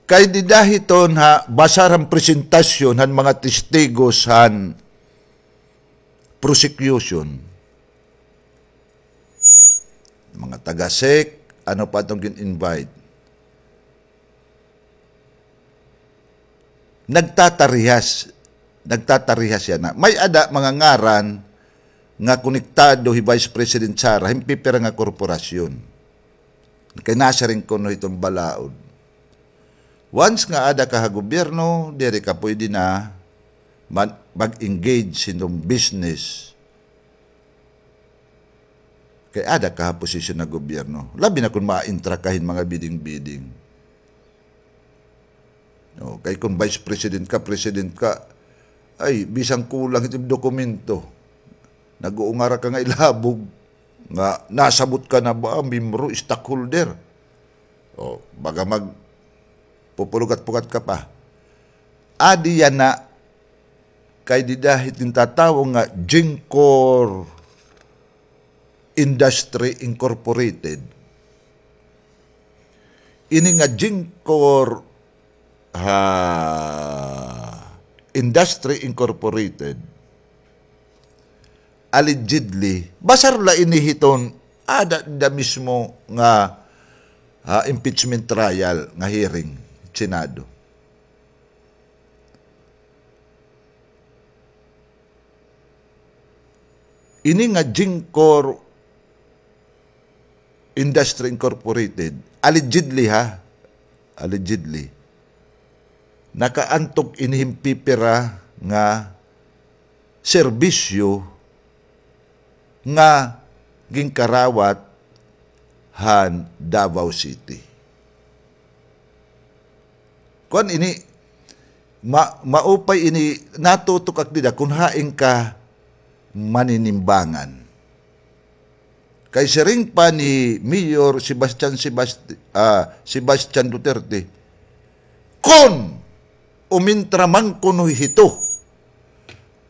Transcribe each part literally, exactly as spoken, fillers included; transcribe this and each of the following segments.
Kay dida hiton ha, basar han presentasyon han mga testigos han prosecution. Mga taga-sec, ano pa iton gin-invite? Nagtatarihas, nagtatarihas yana. May-ada mga ngaran nga konektado hi Vice President Sara, hin pipira nga korporasyon. Kay nasiring kuno hiton balaod. Once nga ada ka ha gobyerno, diri ka pwede na man-, mag-engage hiton business. Kay ada ka ha posisyon ha gobyerno. Labi na kon ma-intra ka hin mga bidding-bidding. O, kay kon vice president ka, president ka, ay, bisan kulang it im dokumento. Nag-uungara ka nga ilhabog nga nasabot ka na ba, membro, stockholder. O, baga magpupulugat-pugat ka pa. Adi yana, kay dida hit gintatawo nga Gingcor Industry Incorporated. Ini nga Gingcor, ha, Industry Incorporated, allegedly, basar la ini hiton, ada da mismo nga, ha, impeachment trial nga hearing, Senado. Ini nga Gingcor Industry Incorporated, allegedly ha, allegedly, nakaantok ini hin pipira nga serbisyo nga ginkarawat han Davao City. Kuan ini, ma-, maupay ini, natutok ak dida kon hain ka maninimbangan. Kay siring pa ni Mayor Sebastian Sebast-, ah, Sebastian Duterte, kon umintra man kuno hito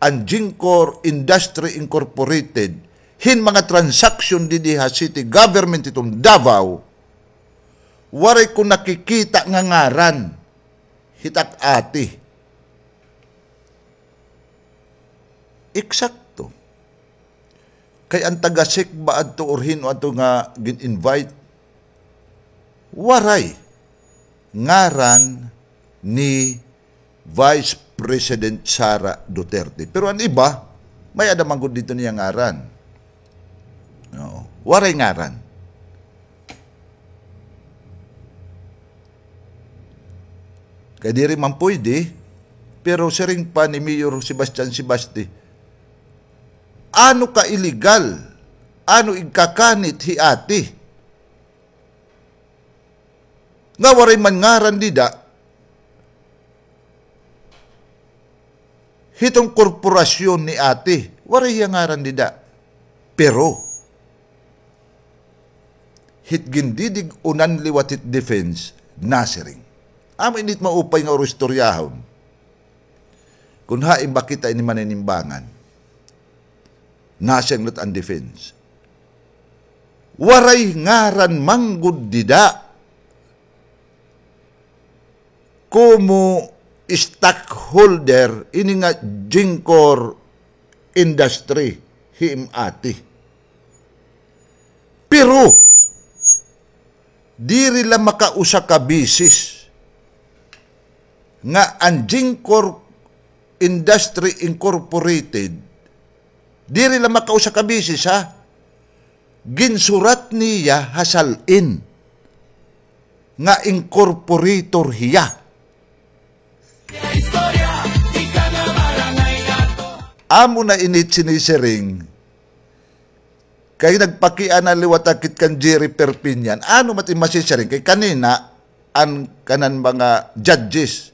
an Gingcor Industry Incorporated, hin mga transaksyon didi ha city government hiton Davao, waray ko nakikita nga ngaran hit ak ati. Eksakto. Kay an taga-sec ba adto or hin-o adto nga gin-invite, waray ngaran ni Vice President Sara Duterte. Pero an iba, may-ada man gud didto niya ngaran. Oo. Waray ngaran. Kay diri man pwede, pero siring pa ni Mayor Sebastian Sebasti, ano ka illegal, ano igkakanit hi ati? Nga waray man ngaran dida, hiton korporasyon ni ati, waray hiya ngaran dida. Pero, hit gindidig-unan liwat hit defense, nasiring. Amo ini it maupay nga oroistoryahon. Kon hain ba kita ini maninimbangan. Nasiring liwat an defense. Waray ngaran man gud dida. Komo stockholder ini nga Gingcor Industry hi im ati. Pero, diri la makausa ka beses nga an Gingcor Industry Incorporated, diri la makausa ka beses, ha? Ginsurat niya ha sal-in nga incorporator hiya. Amo na ini it sinisiring. Kay nagpakiana liwat ak hit kan Jerry Perpignan. Ano man it im masisiring? Kay kanina, an kanan mga judges,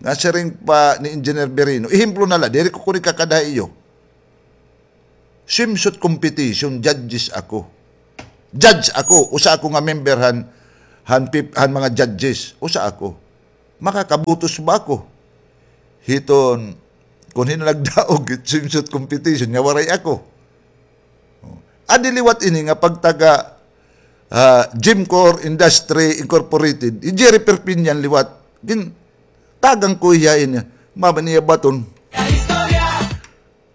nga siring pa ni Engineer Birino. Ehemplo na la, diri ko kuno ikakada ha iyo. Swimsuit competition, judges ako. Judge ako, usa ako nga member han, han pip-, han mga judges, usa ako. Makakabutos ba ako hiton, kon hin-o nagdaog hit swimsuit competition, nga waray ako? Adi liwat ini nga pagtaga, ah, Jimcor Industry Incorporated, hi Jerry Perpignan liwat. Gintagan ko hiya ini. Mama niya baton.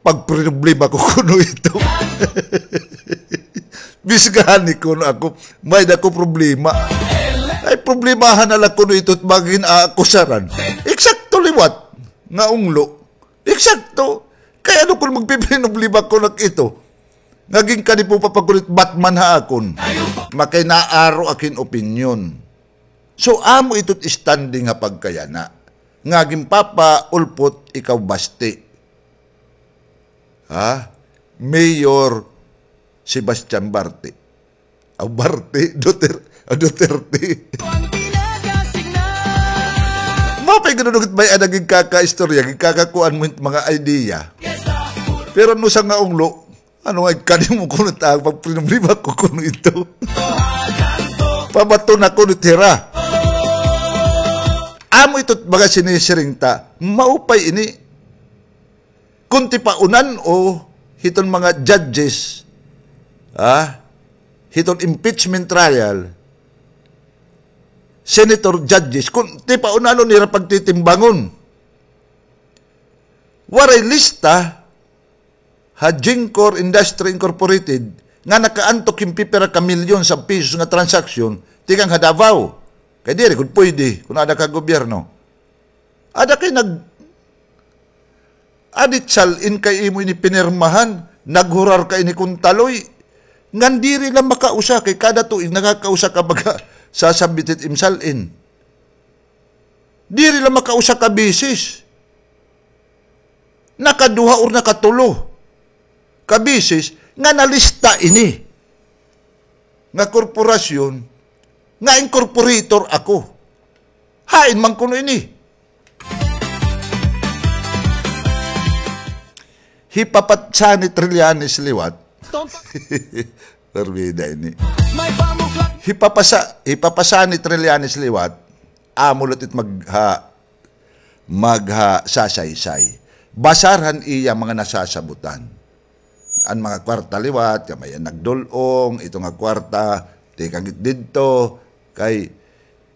Pagproblema ko kuno ito. Bisgani kuno ako, may-ada ko problema. Ay, problemahan na la kuno ito it mga gin-aakusaran. Eksakto liwat nga unglo. Eksakto. Kay ano kon magpiprinoblema kuno ak ito? Nga ginkani pa pa kuno it Batman ha akon. Makay naaro ak hin opinyon. So, amo ito it standing ha pagkayana. Nga ginpapaulpot ikaw basti. Ha? Mayor Sebastian Barte. Aw, Barte, Duter-, aw, Duterte. Mao pay ginunugit may-ada gigkakaistorya, gigkakakuan mo mga idea. Pero an usa nga unglo, ano nga, kani mo kuno ta, pagproblema ko kuno ito. Pabaton ako ni Tira. Amo ito mga sinisiring ta, maupay ini. Kon tipaunan o hiton mga judges, ah, hiton impeachment trial, senator judges, kon tipaunanon nira pagtitimbangon. Waray lista ha Jimcor Industry Incorporated nga nakaantok hin pipira ka milyon sa pisos nga transaksyon tikang ha Davao. Kay diri gud pwede kon ada ka gobyerno. Ada kay nag-, adit sal-in kay imo ini pinirmahan, naghurar ka ini kon taloy. Ngan diri la makausa kay kada tuig nakakausa ka baga sasabit it im sal-in. Diri la makausa ka bisis. Nakaduha or nakatulo ka bisis nga nalista ini nga korporasyon nga incorporator ako. Hain man kuno ini? Hi Papa Sani Trillanes liwat. Parbida ini. Hi Papa Sa-, hi Papa Sani Trillanes liwat. Amo la it magha-, maghasasaysay. Basar han iya mga nasasabutan. An mga kwarta liwat, kay may nagdul-ong, ito nga kwarta, tikang it didto, kay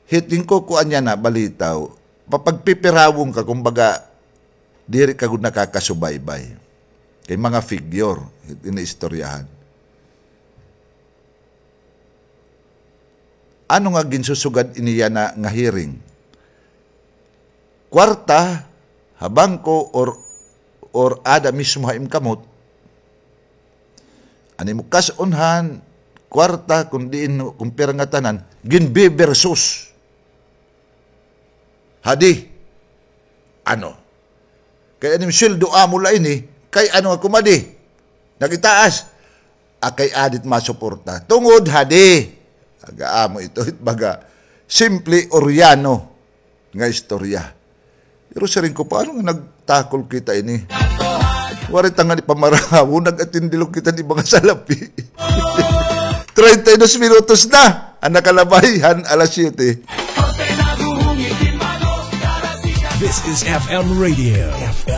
hit ginkukuan niya na balitaw, papagpipirawon ka, kumbaga, diri ka gud nakakasubaybay. Kay mga figure, hit iniistoryahan. Ano nga ginsusugad ini yana nga hearing? Kwarta ha bangko or, or ada mismo ha im kamot? An imo kas-on han kwarta, kon diin, kon pira nga tanan, ginbibersus. Hadi. Ano? Kay an im sweldo amo la ini, kay ano nga kumadi? Nagitaas. A, kay adit masuporta. Tungod hadi. Aga amo ito, it baga simple Oriano nga istorya. Pero siring ko, paano nga nagtakol kita ini? Waray ta ngani pamarangaw, nag-atindi la kita ni mga salapi. Treinta y dos minutos na an nakalabay han alas siyete. This is F M Radio. F M